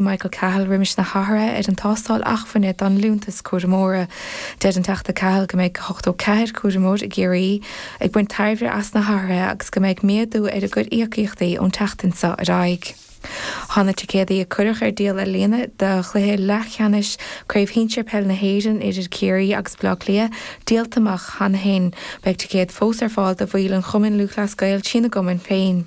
Michael Cahill roimis na hathruithe ar an tástáil acmhainne don Liúntas Cúramóra. Deir an Teachta Cahill go mbeidh 84 cúramóir i gCiarraí ag baint tairbhe as na hathruithe agus go mbeidh méadú ar a gcuid íocaíochtaí ón tseachtain seo ar aghaidh. Tá na ticéadaí a cuireadh ar díol ar líne do chluiche leathcheannais Craobh Shinsir Peile na hÉireann idir Ciarraí agus Baile Átha Cliath díolta amach cheana féin. Beidh ticéid fós ar fáil do bhaill an Chumainn Lúthchleas Gael trína gcumann féin.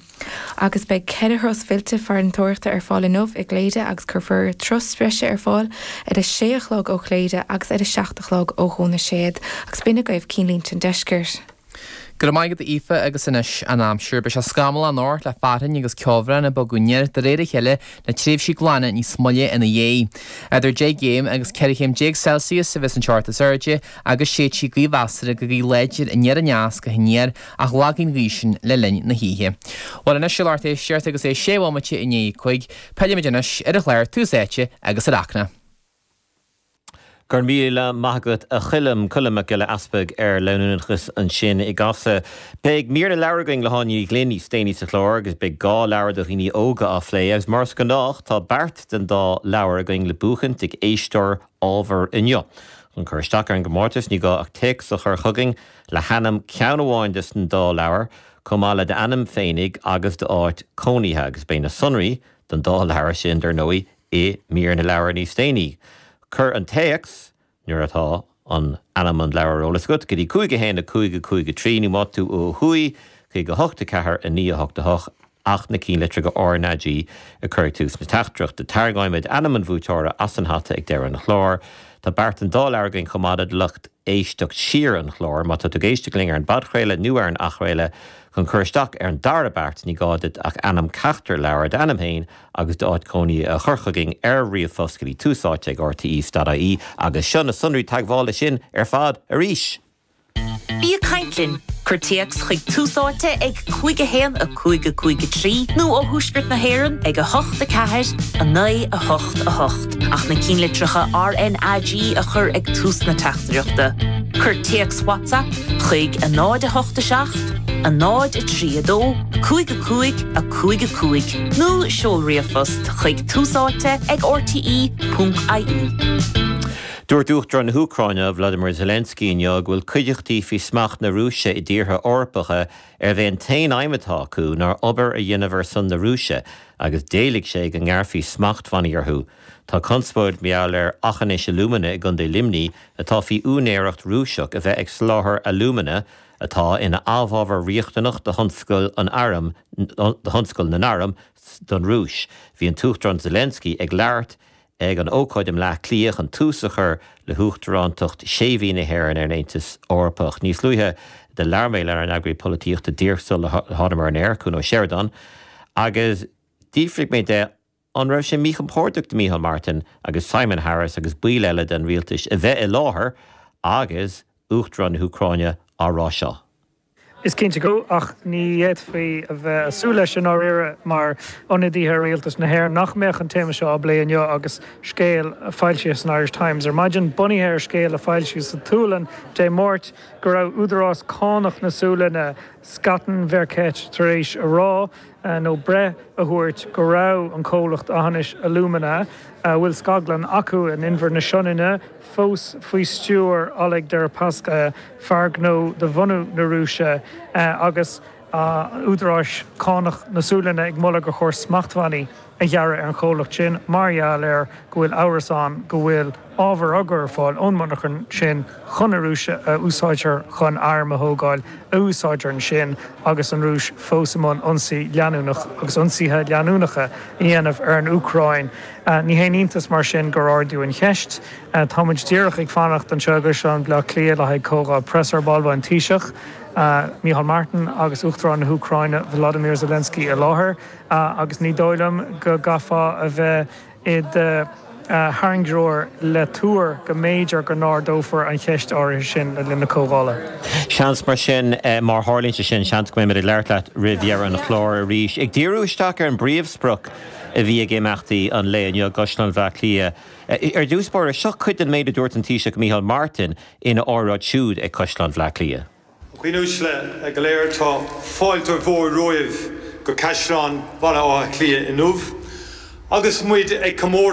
Agus beidh 4 thuras fillte farantóireachta ar fáil inniu i gCléire agus cuirfear turas breise ar fáil ar a sé a chlog ó Chléire agus ar a 7 a chlog ó Dhún na Séad. Agus b'in agaibh cinnlínte an deiscirt. Go raibh maith agat a Aoife agus anois an aimsir. Beidh sé scamallach anocht le fearthainn agus ceobhrán ag bogadh aniar de réir a chéile le tréimhsí glana níos moille ina dhiaidh. Idir 10 gcéim agus 14 chéim Celsius a bheas an teocht is airde agus séidfidh gaoth mheasartha go gaoth láidir aniar aneas go haniar ach lagóidh an ghaoth sin le linn na hoíche. Bhuel anois a lucht éisteachta agus é sé bhomaite i ndiaidh a 5, pillfimid anois ar an chlár Tús Áite agus ar Acna. Go raibh míle maith agat a Choilm, Colm Mac Giolla Easpaig ar leanúnachas ansin i gCasla. Beidh mír na leabhar againn le hÁine Ní Ghlinn níos déanaí sa chlár agus beidh 2 leabhar do dhaoine óga á phlé agus mar is gnách tá beart den dá leabhar againn le buachaint ag éisteoir ábhar inniu. Chun cur isteach ar an gcomórtas ní gá ach téacs a chur chugainn le hainm ceann amháin des an dá leabhar, chomh maith le d'ainm féinig agus d'áit cónaithe, agus beidh na sonraí don dá leabhar sin, dar ndóigh, i mír na leabhar níos déanaí. Cuir an téacs, nuair atá an ainm an leabhair ar eolas agat, go dtí 5 1 5 5 3, nó má tá tú ó thuaidh, chuig 8 4 9 8 8, ach na cinnlitreacha RnaG a chur ag tús na teachtaireachta. Tarraingeoimid ainm an bhuaiteora as an hata ag deireadh an chláir. Tá beart den dá leabhar againn chomh maith do lucht éisteacht siar an chláir. Má tá tú ag éisteacht linn ar an bpodchraoladh nó ar an athchraoladh, chun cur isteach ar an dara beart ní gá duit ach ainm ceachtar leabhar, d'ainm féin agus d'áit cónaithe a chur chugainn ar ríomhphost go dtí tús áite ag rte.ie agus seo na sonraí teagmhála sin ar fad arís! Bí ag caint linn! Cuir téacs chuig Tús Áite ag 5 1 5 5 3 nó ó Thuaisceart na hÉireann ag 8 4 9 8 8 ach na cinnlitreacha RnaG a chur ag tús na teachtaireachta. Cuir téacs WhatsApp chuig 0 8 7 0 3 2 5 5 5 5 nó seol ríomhphost chuig túsáite ag rte.ie. Dúirt Uachtarán na hÚcráine, Volodymyr Zelensky inniu go bhfuil cuideachtaí faoi smacht na Rúise i dtíortha Eorpacha arb é an t-aon aidhm atá acu ná obair a dhéanamh ar son na Rúise agus d'éiligh sé go ngearrfaí smachtbhannaí orthu. Tá conspóid mar gheall ar Aughinish Alumina i gContae Luimnigh atá faoi úinéireacht Rúiseach a bheith ag soláthar alúmana atá ina amhábhar riachtanach do thionscal an airm do thionscal na n-arm don Rúis. Bhí an tUachtarán Zelensky ag labhairt ag an ócáid i mBleá Cliath chun tús a chur le huachtarántacht sé mhí na hÉireann ar an Aontas Eorpach. Níos luaithe do labhair mé lenár n-eagraí polaitíochta díreach sula thánamar ar an aer, Cuan Ó Seireadáin, agus d'fhiafraigh mé de an raibh sé míchompordach do Micheál Martin agus Simon Harris agus baill eile den rialtas a bheith i láthair agus Uachtarán na hÚcráine á rá seo. Is cinnte go, ach ní fhéadfaí a bheith ag súil leis i ndáiríre mar ionadaithe ar Rialtas na hÉireann nach mbeadh an téama seo á bplé inniu agus scéal foilsithe san Irish Times ar maidin, bunaithe ar scéal a foilsíodh sa tSualainn Dé Máirt, go raibh údarás cánach na Sualainne, Skatteverket, tar éis a rá, nó breith a thabhairt, go raibh an comhlacht Aughinish Alumina, a bhfuil scaglann acu in Inbhear na Sionainne, fós faoi stiúir Oleg Deripaska, fear gnó de bhunadh na Rúise, agus údaráis cánach na Sualainne ag moladh gur chóir smachtbhannaí a ghearradh ar an chomhlacht sin mar gheall ar go bhfuil amhras ann go bhfuil ábhar á gcur ar fáil ón monarchan sin chun na Rúise a úsáidtear chun airm a thógáil a úsáidtear ansin agus an Rúis fós i mbun ionsaí leanúnach agus ionsaithe leanúnacha a dhéanamh ar an Úcráin. Ní haon iontas mar sin gur ardaíodh an cheist. Tá muid díreach ag fanacht anseo i gCaisleán Bhaile Átha Cliath le haghaidh comhdháil preasa ar ball. Beidh an Taoiseach, Micheál Martin agus Uachtarán na hÚcráine, Volodymyr Zelensky i láthair agus ní dóigh liom go gcaithfeá a bheith i do thairngreoir le tuar go mb'fhéidir go n-ardófar an cheist áirithe sin le linn na comhdhála. Seans mar sin, má tharlaíonn sé sin, seans go mbeimid ag labhairt leat roimh dheireadh an chláir arís. Ag díriú isteach ar an bpríomhsprioc a bhí ag imeachtaí an lae inniu i gCaisleán Bhaile Átha Cliath. Ar dtús báire, seo cuid den méid a dúirt an Taoiseach Micheál Martin ina óráid siúd ag Caisleán Bhaile Átha Cliath. A dhaoine uaisle go léir, tá fáilte mhór romhaibh go Caisleán Bhaile Átha Cliath inniu. Agus muid ag comóradh.